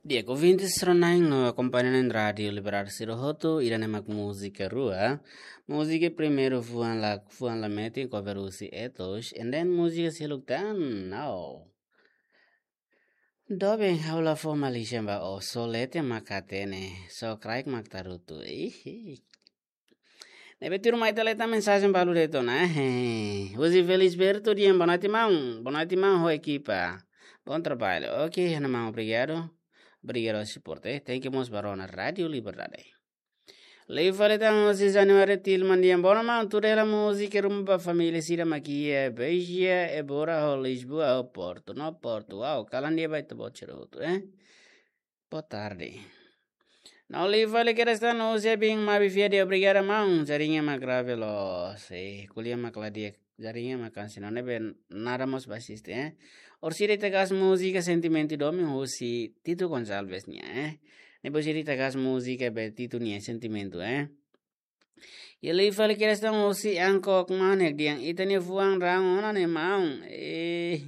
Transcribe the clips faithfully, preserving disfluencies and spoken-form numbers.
Di'ak, ouvintes sira-ne'e no akompaña iha Rádiu Liberdade sira hotu, ida-ne'e mak múzika rua. Múzika primeiru fuan la, fuan la metin, cover husi Etos, and then múzika seluk tan, now. Doben ha'u la fó malisan ba ó, só leten mak hatene, só kraik mak tarutu. Ihi. Ne'ebé tuirmai ita leta mensajen balu de'it ona, eh. Husi Felisberto dehan, boa noite, maun. Boa noite, maun, ho ekipa. Bom trabalho. Ok, ha'u-nia maun, obrigadu. Obrigadu ho suporte. Thank you mós ba rona Rádiu Liberdade. Liu fali tan husi Januário Tilman dehan, boa noite, maun, tuir hela múzika ruma ba família sira mak iha Beja, Évora, ho Lisboa, ho Porto. No Porto, wow, kalan di'ak ba ita-boot sira hotu, eh. Boa tarde. No liu fali kedas tan husi Abin Mabi Fiade, obrigada maun, jaringa mak grave loos. Eh, ko'alia mak la di'ak, jaringa mak kansi no ne'ebé nada mós ba asiste, eh. Orsida ita gasta múzika Sentimentu Domin husi Tito Gonçalves nian, eh. Ne'ebé orsida ita gasta múzika be Tito nian Sentimentu, eh. Iha liu fali kedas tan husi Angkok Manek dehan ita-nia fuan rahun ona ne'e maun. Eh,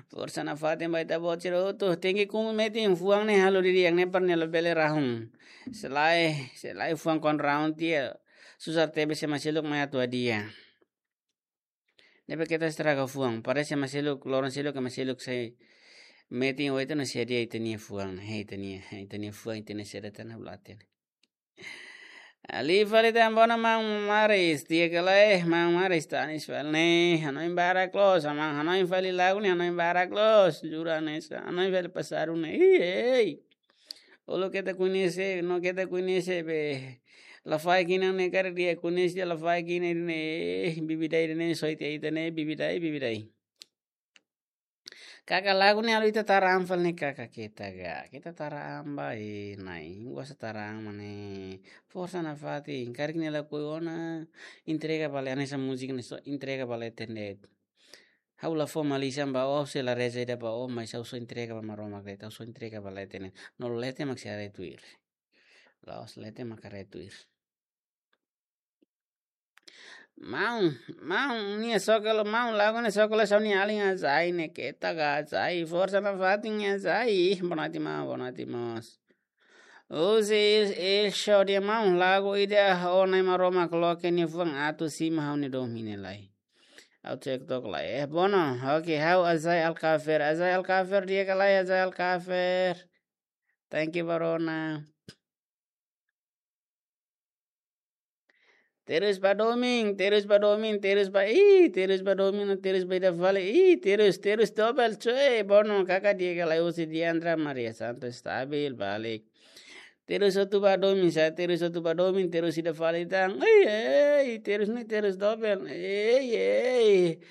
forsa nafatin ba ita-boot sira hotu. Tenke kumpre metin fuan ne'e halo didi'ak ne'e para ne'e labele rahun. Se lae, se lae fuan kuandu rahun tiha. Susar tebes ema seluk mai atu hadi'a. Ne'ebé keta estraga fuan. Parese ema seluk, loron seluk ema seluk sei metin oito na sia dia ita-nia fuan. Hei, ita-nia, ita-nia fuan, ita-nia seda tan ha'u la hatene. Liu fali tan boa noite maun Maris, di'ak ka lae, maun Maris tanis fali ne'e, hanoin barak loos, maun hanoin fali lagu ne'e, hanoin barak loos, jura ne'e, sa, hanoin fali pasadu ne'e, ih, ei. Olo keta koñese, no keta koñese be, la fahe kinan ne'e karik di'ak koñese, la fahe kinan ne'e, eh, bibidai ne'e, soite ita ne'e, bibidai, bibidai. Kaka lagu ne'e halo ita tara an fali ne'e kaka keta ga. Keta tara an ba e nai. Gosta tara an mak ne'e. Forsa nafatin. Karik ne'e lakohi ona. Entrega ba leten hanesan múzika ne'e só entrega ba leten de'it. Ha'u la fó malisan ba ó, se la reza ida ba ó, mas ha'u só entrega ba Maromak de'it. Ha'u só entrega ba leten ne'e. No leten mak sei haree tuir. La'ós leten mak haree tuir. Maun, maun, nia sokolo, maun, lagu ne'e sokolo só nia alin azai ne'e keta ga azai, forsa nafatin azai, ih, boa noite maun, boa noite mós. Husi, eh, show de'it maun, lagu ida ho Nai Maromak loke nia fuan atu simu ha'u-nia domin ne'e lai. Ha'u TikTok lai, eh, bono, ok, ha'u Azai Alkafer, Azai Alkafer, di'ak ka lae Azai Alkafer. Thank you, ba rona. Terus ba domin, terus ba domin, terus ba, ih, terus ba domin, terus ba ida fali, ih, terus, terus dobel, cuy, bono, kaka di'ak ka lae husi Diandra Maria Santos stabil, balik. Terus hotu ba domin, sa, terus hotu ba domin, terus ida fali tan, ei, ei, terus ne'e, terus dobel, ei, ei.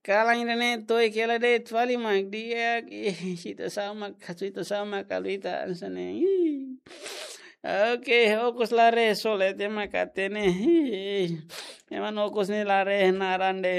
Kalan ida-ne'e to'o kela de'it fali mak di'ak, ih, sita sama, sita sama kalita, hanesan ne'e, ih. Ok, okos la reza, só leten mak hatene. Ema okos ne'e la reza naran de'it.